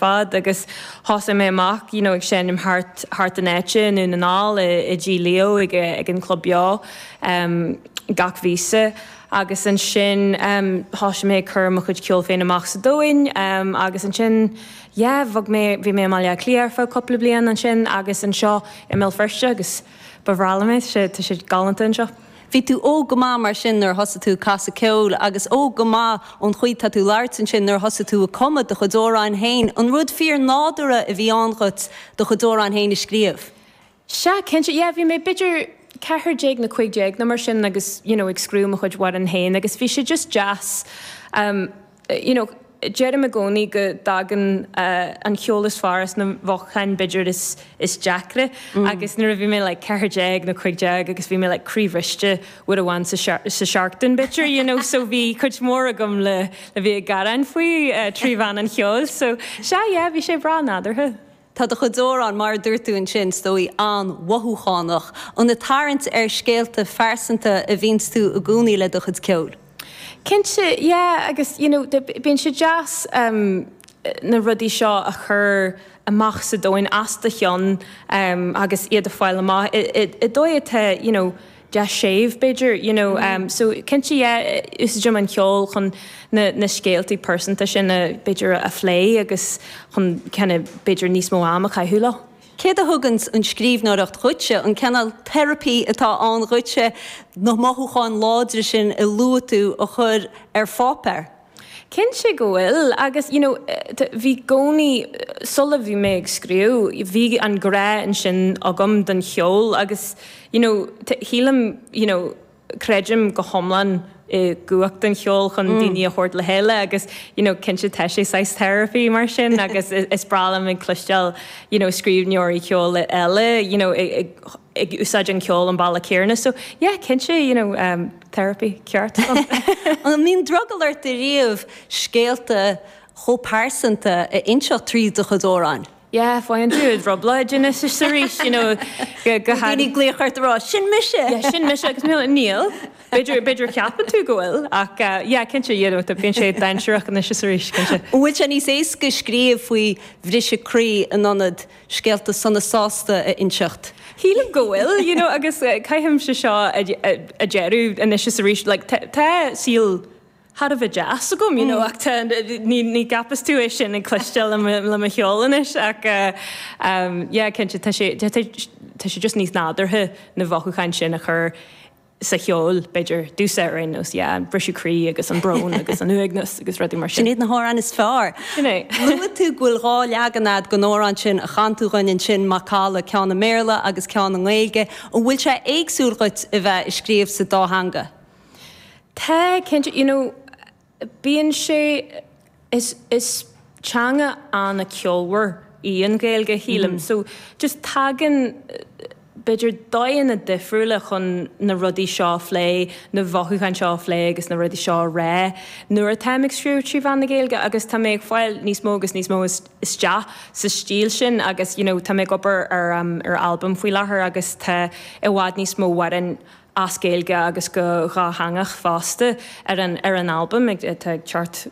fad agus thosaigh mé amach you know ag seinm thart thart an áite i nDún na nGall i i dTigh Leo ag ag an Club Beo um gach mhíosa agus ansin um thosaigh mé ag cur mo chuid ceoil féin amach sa domhain um agus ansin yeah bhog mé bhí mé i mBaile Átha Cliath ar feadh cúpla bliain ansin agus anseo i mBéal Feirste agus ba bhreá liom é tá sé tá sé galánta anseo. Bhí tú óg go maith mar sin nuair a thosaigh tú ag casadh ceoil agus óg go maith ón chaoi tá tú ag labhairt ansin nuair a thosaigh tú ag cumadh do chuid amhráin féin. An rud fíor nádúrtha a bhí ann dhuit do chuid amhráin féin a scríobh? Sea, cinnte, yeah, bhí mé b'fhéidir 14 nó 15 nó mar sin agus you know ag scríobh mo chuid amhrán féin agus bhí sé just deas um you know deirim i gcónaí go dtagann an ceol is fearr as na mothúcháin b'fhéidir is is deacra agus nuair a bhí mé like 14 nó 15 agus bhí mé like croíbhriste uair amháin sa sa seachtain b'fhéidir you know so bhí cuid mhór agam le le bheith ag gearán faoi trí mheán an cheoil so sea yeah bhí sé breá nádúrtha. Tá do chuid amhrán, mar a dúirt tú ansin, is dóigh, an-mhothúchánach. An ag tarraingt ar scéalta phearsanta a bhíonns tú i gcónaí le do chuid ceoil? Cinnte, yeah, agus you know bíonn sé deas na rudaí seo a chur amach sa domhan as do cheann agus iad a fáil amach i dóigh atá you know deas séimh b'fhéidir you know so cinnte yeah úsáidim an ceol chun na na scéaltaí pearsanta sin a b'fhéidir a phlé agus chun kind of b'fhéidir níos mó am a chaitheamh leo. Céard a thuganns an scríbhneoireacht dhuitse, an cineál teiripí atá ann dhuitse, na mothúcháin láidre sin a luaigh tú a chur ar pháipéar? Cinnte go bhfuil agus you know bhí i gcónaí, sula bhí mé ag scríobh, bhí an grá ansin agam don cheol agus you know shílim you know creidim go hiomlán i gcumhacht an cheoil chun daoine a thabhairt le chéile agus you know cinnte tá sé saghas therapy mar sin agus is breá liom ag cloisteáil you know scríbhneoirí ceoil eile you know ag ag úsáid an ceol an bealach céanna so yeah cinnte you know um, therapy ceart. An mbíonn drogall ort ariamh scéalta chomh pearsanta a inseacht tríd do chuid amhráin? Yeah, faigheann tú i dtrioblóid anois is arís, you know, go go Daoine ag glaoch ort a rá, 'Sin mise! Yeah, sin mise agus níl, níl. B'fhéidir, b'fhéidir ceapann tú go bhfuil ach yeah, cinnte, you know, bíonn sé dainséarach anois is arís, cinnte. An bhfuil sé níos éasca scríobh faoi bhriseadh croí in ionad scéalta sona sásta a inseacht? Shílim go bhfuil, you know, agus caithimse seo a deireadh anois is arís, like, tá saol thar a bheith deas agam, you know, ach tá, ní, ní gceapas tú é sin ag cloisteáil le mo, le mo cheol anois ach um, yeah, cinnte, tá sé, tá, tá sé just níos nádúrtha na mhothúcháin sin a chur sa cheol, b'fhéidir, domhsa ar aon nós, yeah, an briseadh croí agus an brón agus an uaigneas agus rudaí mar sin. Sin iad na hamhráin is fearr. Sin é. Luaigh tú go bhfuil dhá leagan a'd den amhrán sin a chan tú dhuinn ansin, Macalla, ceann i mBéarla agus ceann i nGaeilge. An bhfuil sé éagsúil dhuit a bheith ag scríobh sa dá theanga? Tá, cinnte, you know, bíonn sé, is, is teanga an-cheolmhar í an Ghaeilge, shílim, so just tagann, b'fhéidir, dóigheanna difriúla chun na rudaí seo a phlé, na mhothúcháin seo a phlé agus na rudaí seo a rá nuair atáim ag scríobh trí mheán na Gaeilge agus tá mé ag fáil níos mó agus níos mó isteach sa stíl sin agus you know tá mé ag obair ar ar albam faoi láthair agus tá i bhfad níos mó amhráin as Gaeilge agus go dhátheangach fosta ar an ar an albam atá ag teacht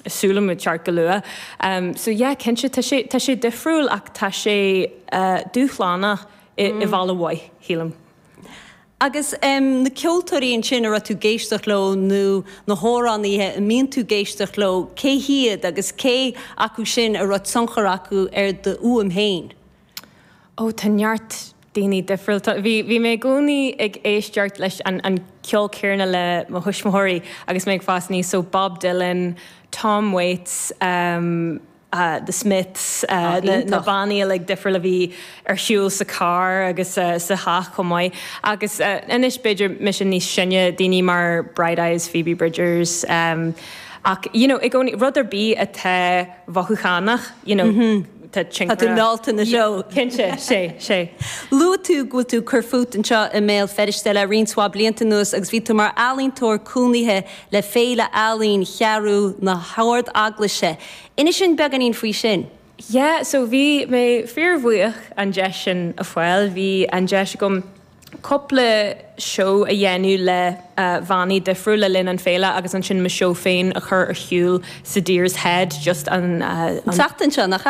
súil agam ag teacht go luath. So yeah cinnte tá sé tá sé difriúil ach tá sé dúshlánach i i bhealach mhaith, shílim. Agus na ceoltóirí ansin a raibh tú ag éisteacht leo nó na hamhránaithe a mbíonn tú ag éisteacht leo, cé hiad agus cé acu sin a raibh tionchar acu ar do fhuaim féin? Ó, tá neart daoine difriúil. Tá, bhí, bhí mé i gcónaí ag éisteacht leis an, an ceol céanna le mo thuismitheoirí agus mé ag fás aníos, so Bob Dylan, Tom Waits, um, uh, The Smiths, uh, na, na bannaí uilig difriúil a bhí ar siúl sa carr agus uh, sa theach chomh maith. Agus uh, anois b'fhéidir mise níos sine, daoine mar Bright Eyes, Phoebe Bridgers, um, ach, you know, i gcónaí, rud ar bith atá mhothúchánach, you know, tá tionchar. Tá tú meallta ina threo. Cinnte, sé, sé. Luaigh tú go bhfuil tú ag cur fút anseo i mBéal Feirste le roinnt mhaith blianta anuas agus bhí tú mar ealaíontóir cónaithe le Féile Ealaíon Cheathrú na hArd-Eaglaise. Inis dúinn beagáinín faoi sin. Yeah, so bhí mé fíorbhuíoch an deis sin a fháil. Bhí an deis agam cúpla seó a dhéanamh le bannaí difriúil le linn an féile agus ansin mo seó féin a chur ar shiúl sa Deer's Head just an tseachtain seo, nach ea?